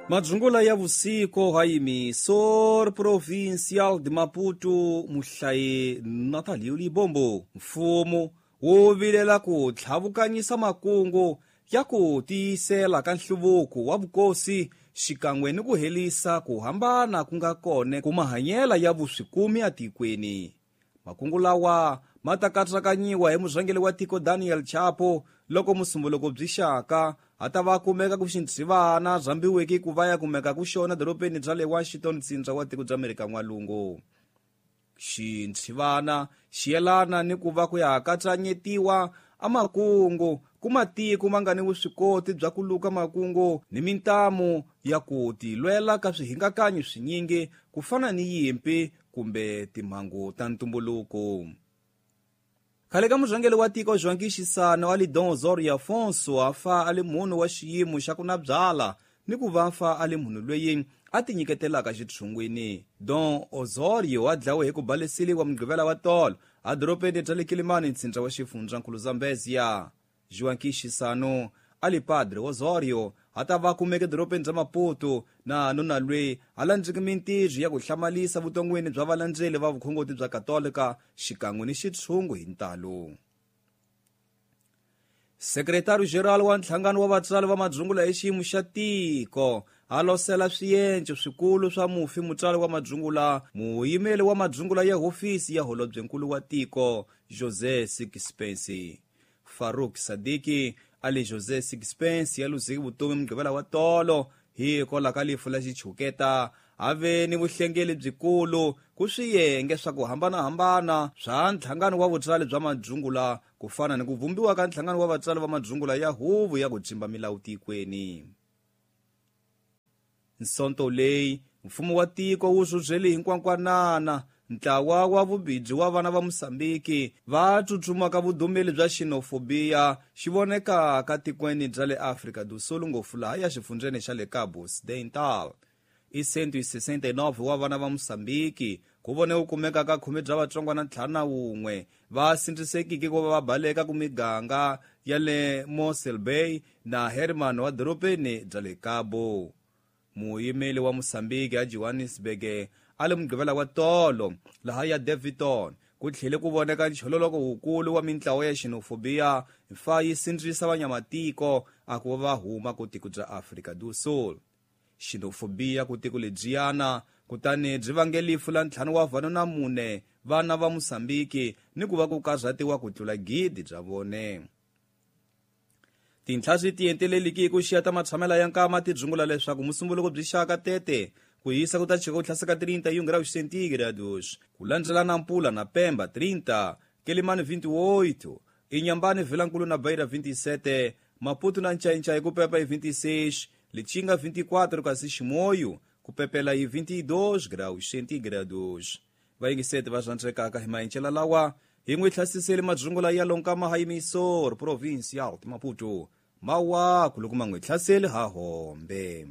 Madzungula ya vusiku ha Yimisor Provincial de Maputo muhlayi Natalio Libombo. Mfumo wu vilela ku tlhavukanyisa makungu ya ku tiyisela ka nhluvuko wa vukosi xikan'we ni ku helisa ku hambana ku nga kona ku mahanyela ya vuswikumi etikweni. Makungu lawa ma ta katsakanyiwa hi murhangeri wa tiko Daniel Chapo loko musumbuluko byi xaka a ta va kumeka ku xintshivana rhambiweke ku va ya kumeka ku xona dorobeni bya le Washington tsindza wa tiko bya Amerika N'walungu. Xintshivana xi yelana ni ku va ku ya katsanyetiwa amakungu ku matiko ma nga ni vuswikoti bya ku luka makungu ni mintamu ya ku tilwela ka swihingakanyi swinyingi ku fana ni yimpi kumbe timhangu ta ntumbuluko. Khale ka murhangeri wa tiko Joaquim Chissano ali Dom Osorio Afonso a fa a li munhu wa xiyimo xa ku na byala ni ku va fa a li munhu loyi a tinyiketelaka xitshungwini. Dom Osorio a dlawe hi ku baleseliwa mugqivela wa tolo a dorobeni bya le Kilimani ntsindza wa xifundzankulu Zambezia. Joaquim Chissano a li Padre Osorio a ta va kumeke dorobeni bya Maputo na nuna loyi a landzeke mintirho ya ku hlamalisa vuton'wini bya valandzeli va vukhongoti bya Katolika xikan'we ni xitshungu hi ntalo. Sekretari General wa nhlangano wa vatswari va madzungula hi xiyimo xa tiko a losela swienco swikulu swa mufi mutswari wa madzungula muyimeli wa madzungula ya hofisi ya holobyenkulu wa tiko José Sixpence. Farouk Sadiki ali José Sixpence ya luzeke vutomi mugqivela wa tolo hikwalaho ka lifu la xichuketa a ve ni vuhlengeli byikulu ku swiyenge swa ku hambanahambana swa nhlangano wa vutswari bya madzungula ku fana ni ku vumbiwa ka nhlangano wa vatswari va madzungula ya huvo ya ku tsimba milawu tikweni. Nsonto leyi mfumo wa tiko wu rhurhele hinkwankwanana ntlawa wa vubidzi wa vana va Mosambiki va tsutsumaka vudumeli bya xenofobiya xi vonekaka tikweni bya le Afrika do Sul ngopfu laha ya xifundzeni xa le Cabo Occidental. I 169 wa vana va Mosambiki ku vone ku kumeka ka khume bya vatsongwana 51 va sindzisekiki ku va va baleka ku miganga ya le Mossel Bay na Herman wa dorobeni bya le Cabo. Muyimeli wa Mosambiki a Johannesburg a le mugqivela wa tolo laha ya Daveyton ku tlhele ku voneka nchololoko wukulu wa mintlawa ya xenofobiya fa yi sindzisa vanyamatiko a ku va huma ku tiko bya Afrika do Sul. Xenofobiya ku tiko lebyiyana kutani byi vange lifu la 5 wa vanhu na 4 vana va Mosambiki ni ku va ku karhatiwa ku tlula 1,000 bya vone. Tinhla swi tienteleliki hi ku xiya ta matshamela ya nkama ti dzungula leswaku musumbuluko byi xaka tete ku hisa ku ta chika ku hlaseka 31 graus centígrados ku landzela na Mpula na Pemba 30, Quelimane 28, Inhambane Vilankulu na Beira 27, Maputo na Ncaincaí ku pepa hi 26, Lichinga 24 kasi Chimoio ku pepela hi 22 graus centígrados. Vayingiseti va rhandzekaka hi maenxela lawa hi n'wi hlasisele madzungula ya lonkama ha Yimisor Provincial de Maputo mawaku loko ma n'wi hlaseli ha hombe.